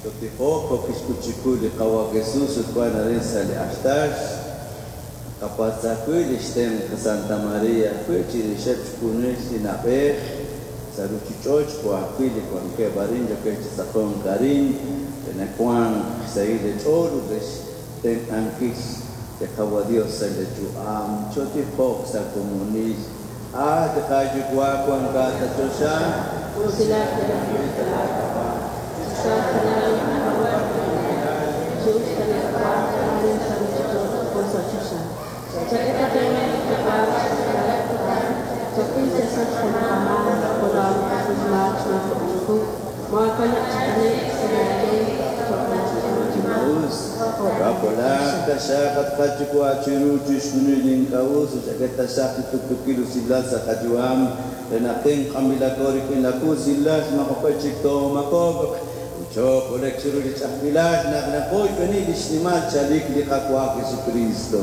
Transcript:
Chootijoq jo' kixk'ut chiqu li Qawa' Jesus ut wank arin sa' li artal. Naqapatz' ajwi' li xtenq' Santa Maria ajwi' chirixeb' xjunil li na'b'ej sa' ruuchich'och' jo' ajwi' li wankeb' arin yookeb' chi tz'aqonk arin re naq wanq xsahil eech'ool ut re xtenq'ankil li Qawa' Dios sa' leeyu'am. Chootijoq sa' komonil. At qaYuwa' wankat sa' choxa, Usilaak laak'ab'a', chisahaq laawa'b'ejilal, chi'uxq laak'ab'a' arin sa' ruuchich'och' jo' sa' choxa. Chak'e qe li qawa rajlal kutan, chakuy chasach jun qamaak jo' laa'o naqakuy xmaak xmaakob'k chiqu, moohakanab' chi t'ane'k sa' laawe, Us, Kapolaq taxaq at qaYuwa' chiru chixjunil li ink'a' us ut chak'e taxaq li tuqtuukil usilal sa' qayu'am re naq tenq'anb'ilaqo rik'in la usilal maajoq'e chik toomaakob'q ut chookole'q chiru li ch'a'ajkilal naq naqoyb'eni li xnimal chalik li Qaawa' Jesukristo.